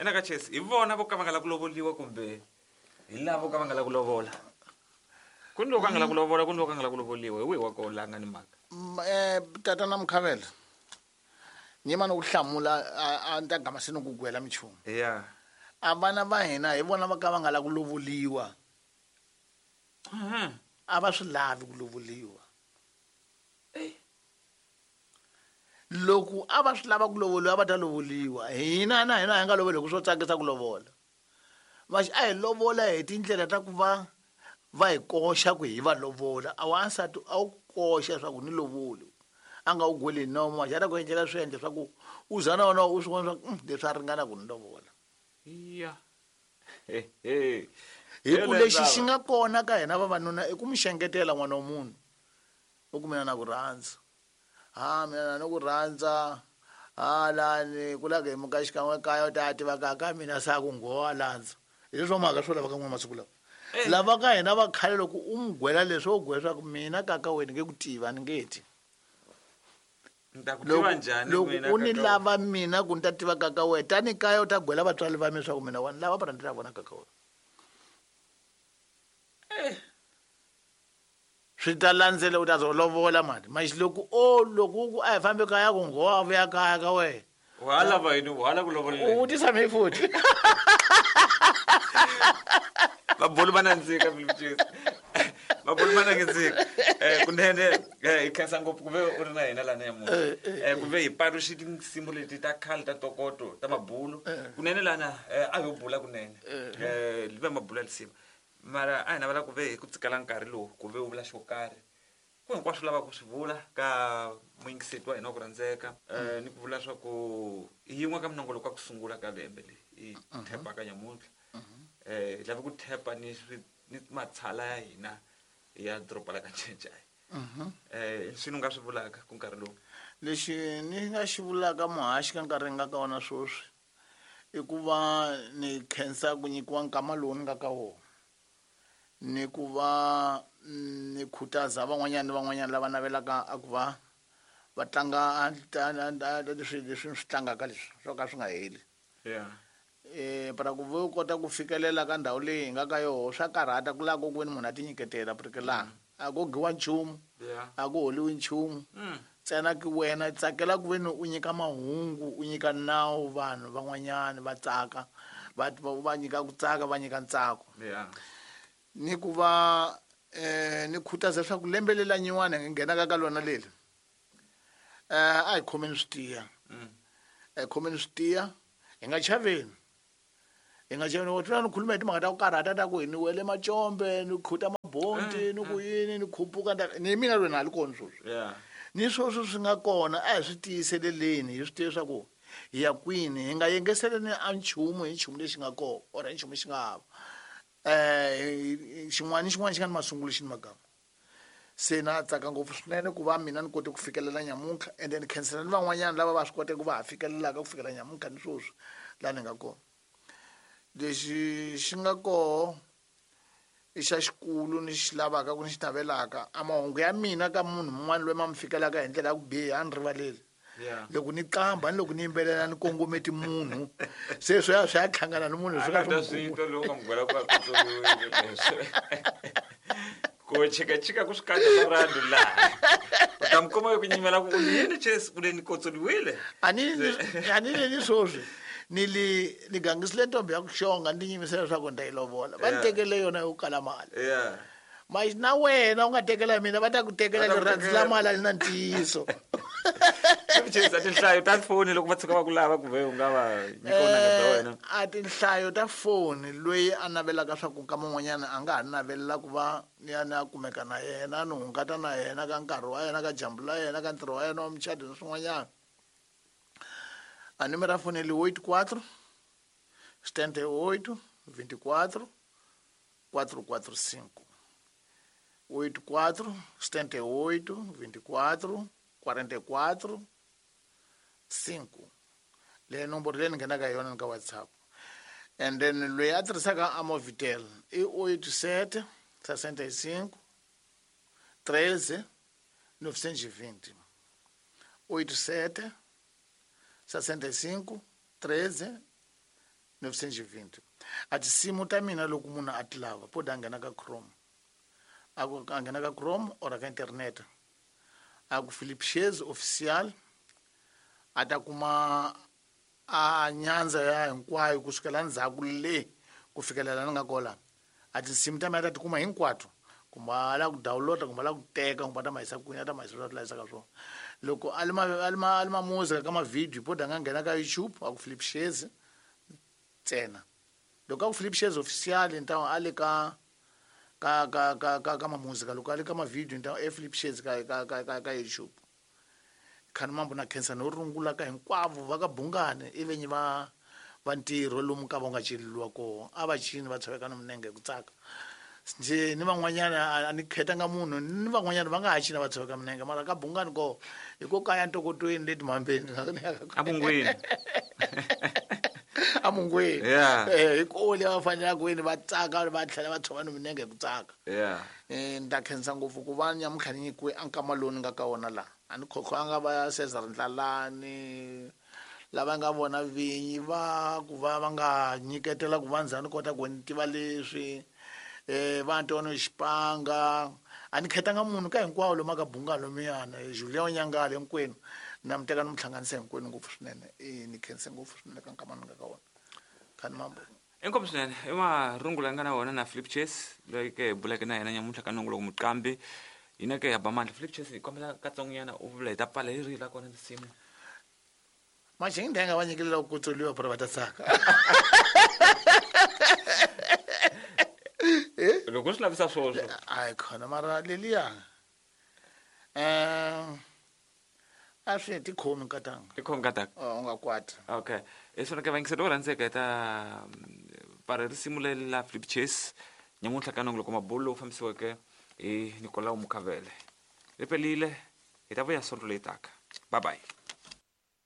Ena ka Chesi hi vona vo ka va nga lavi ku lovoliwa kumbe hi lavo ka va nga lavi ku lovola. Ku ni loko a nga lavi ku lovola, ku ni loko a nga lavi ku lovoliwa. Hi wihi wa kona la nga ni mhaka? Tatana Mukhavela, ni yima ni ku hlamula a ni ta gama se ni ku gwela minchumu. Ya. A vana va hina hi vona va ka va nga lavi ku lovoliwa. A va swi lavi ku lovoliwa. Loko a va swi lava ku lovoliwa a va ta lovoliwa. Hina na hina hi nga lovoli hi ku swo tsakisa ku lovola. Vaxi a hi lovola hi tindlela ta ku va va hi koxa ku hi va lovola. A wansati a wu koxa swa ku ni lovoli. A nga wu gweli hi nomo, maxi a ta ku endlela swiendlo swa ku u za na wena u swi vona swa ku leswi a ringana ku ni lovola. Ya. Hi ku lexi xi nga kona ka hina vavanuna i ku mi xengetela n'wana wa munhu. U ku mina na ku rhandza. Ha mina na ni ku rhandza. Ha lani ku la ku hi muka xikan'we kaya u ta tiva ka ka mina sa ku nghowa landza. Hi leswo mhaka swo lava ka n'we masiku lawa. Lava ka hina va khale loko u n'wi gwela leswi wo gwela swa ku mina kaka wena nge ku tiva ni nge ti. Ni ta ku tiva njhani Loko u ni lava mina ku ni ta tiva kaka wena tani kaya u ta gwela vatswari va mina swa ku mina wa ni lava para ni ta vona kaka wena. Swi ta landzela u ta zo lovola mani. Maxi loko o loko u ku a hi fambi kaya ku nghowa vuya kaya ka wena. Wa ha lava yini? Wa ha lava ku lovola U vutisa me futhi. Mabulu ma nandzika Philip. Mabulu ma nandzika. Kunene hi khensa ngopfu ku ve u ri na hina lana nyamuntlha. Ku ve hi paluxi tinsimu leti ta khale ta ntokoto ta mabulu. Kunene lana a ho bula kunene. Liva mabulu ya lisima. Mara a hi navela ku ve hi ku tsikela nkarhi lowu ku ve u vula xo karhi. Ku hinkwaswo lavaka ku swi vula ka muyingiseti wa hina wa ku rhandzeka ni ku vula swa ku i yin'we ka minongoloko ya ku sungula ka lembe leyi hi thepaka nyamuntlha. Hi lava ku thepa ni ni matshala ya hina ya doroba la ka Ncencane. Swi ni nga swi vulaka ku nkarhi lowu. Lexi ni nga xi vulaka muhaxi ka nkarhi nga ka wona sweswi i ku va ni khensa ku nyikiwa nkama lowu ni nga ka wona. Ni ku va ni khutaza van'wanyana ni van'wanyana lava navelaka a ku va va tlanga leswi leswi ni swi tlangaka leswi swo ka swi nga heli. Para ku ve u kota ku fikelela ka ndhawu leyi hi nga ka yoho swa karhata ku lava ku ve ni munhu a ti nyiketela ku ri ke laha a ko giwa nchumu a ku holiwi nchumu ntsena ki wena tsakela ku ve ni u nyika mahungu u nyika nawu vanhu van'wanyana va tsaka va va nyika ku tsaka va nyika ntsako. Ni ku va ni khutaza leswaku lembe leri la nyuwana hi nghenaka ka lona leri a hi khomeni swi tiya. A hi khomeni swi tiya hi nga chaveni. Hi nga chaveni u tlula ni khuluma hi timhaka ta ku karhata ta ku ni wele macombe ni khuta mabonti ni ku yini ni khupuka ni mina loyi na ha li kona sweswi. Ni sweswi swi nga kona a hi swi tiyiseleleni hi swi tiva leswaku hi ya kwini hi nga yengeseleni a nchumu hi nchumu lexi nga kona or hi nchumu lexi nga hava. Xin'wana ni xin'wana xi nga ni masungulo xi ni magama. Se na tsaka ngopfu swinene ku va mina ni kote ku fikelela nyamuntlha ende ni khensela ni van'wanyana lava va swi koteke ku va ha fikelelaka ku fikela nyamuntlha ni sweswi laha ni nga kona. Lexi xi nga koho i xa xikulu ni xi lavaka ku ni xi navelaka a mahungu ya mina ka munhu mun'wana loyi ma mi fikelaka hi ndlela ya ku biha a ni rivaleli. Loko ni qambha ni loko ni yimbelela ni kongometi munhu se swi ya swi ya hlangana ni munhu swi ka swi n'wi loko nga mugwela ku ku chikachika ku swi kanda swa rando laha u ta mi kuma ku nyimela ku yini Chesi ku le ni kotsoliwile a ni a ni le ni sweswi ni li ni gangisile ntombi ya ku xonga ni tinyimisela leswaku ni ta yi lovola va ni tekele yona yo kala mali. Mas na wena u nga tekela mina va ta ku tekela rirhandzu la mali a li na ntiyiso. Chesi a tinhlayo ta foni loko va tshuka va ku lava ku ve u nga va nyika vunanga bya wena. A tinhlayo ta foni loyi a navelaka swa ku nkama wun'wanyana a nga ha navelela ku va ni ya ni ya kumeka na yena ni hungata na yena ka nkarhi wa yena ka dyambu la yena ka ntirho wa yena wa mucato ni swin'wanyana. A numero ya foni li 84 78 24 445 84 78 24 44 5 leyi nomboro leyi ni nghenaka hi yona ni ka WhatsApp. And then loyi a tirhisaka a Movitel i 87 65 13 920 87 65 13 920. A tinsimu ta mina loko munhu a ti lava po da nghena ka Chrome, a ku a nghena ka Chrome or ka internet, a ku Philip Shezi Official, a ta kuma a nyandza ya hinkwayo kusukela ndzhaku le ku fikela la ni nga kola. A tinsimu ta mina ta tikuma hinkwato, kumbe a lava ku download, kumbe a lava ku teka, kumbe a ta ma yisa kwini, a ta ma yisa la yisaka swona. Loko a li ma a li ma a li ma music ka ma-video, po da nga nghena ka YouTube a ku Philip Shezi ntsena. Loko a ku Philip Shezi Official, ni ta a le ka ma-music. Loko a le ka ma-video, ni ta e Philip Shezi ka YouTube. Khani mambo na khensa no rungula ka hinkwavo va ka Bungani, i venyi va ntirho lomu ka va nga celeliwa koho, a va cini va tshoveka no minenge hi ku tsaka. Njhe ni van'wanyana a ni khetanga munhu, ni van'wanyana va nga ha cina va tshoveka minenge, mara ka Bungani koho hi ko kaya ntokotweni le timhambeni. Amungwini. Amungwini. Yeah. Hi ko le va fanelaka kwini va tsaka, va tlhela va tshova no minenge hi ku tsaka. Ni ta khensa ngopfu ku va nyamuntlha ni nyikiwe a nkama lowu ni nga ka wona laha. A ni khokhwanga va Cesar Ndlalani lava nga vona vinyi va ku va va nga nyiketela ku va ndzhaku ni kota ku ni tiva leswi, va Antonio Xipanga. A ni khetanga munhu ka hinkwawo lomu ka Bungalo miyana Julian Nyangale hinkwenu na mi teka ni mi hlanganisa hinkwenu ngopfu swinene. Ni khense ngopfu swinene ka nkama ni nga ka wona. Khani mambo. Inkomu swinene i marungulo ya nga na wona na Philip Chase loyi ke hi buleke na yena nyamuntlha ka nongo loko muqambi hina ke ya ba mandla. Philip Chase, hi kombela katsongonyana u vula hi ta pfala hi rihi la kona tinsimu. Manje ngi va nyikelela ku kutsuriwa para va ta tsaka. Loko u swi lavisa swoswo. Hayi khona mara leliya. A swi tikhomi nkatanga. Tikhomi nkatanga. U nga kwati. Okay. Hi swona ke vayingiseri vo rhandzeka hi ta pfala risimu leri la Philip Chase nyamuntlha ka nongo loko mabulo lowu fambisiweke hi Nicolau Mukhavele. Ri pelile, hi ta vuya sonto leyi taka. Bye bye.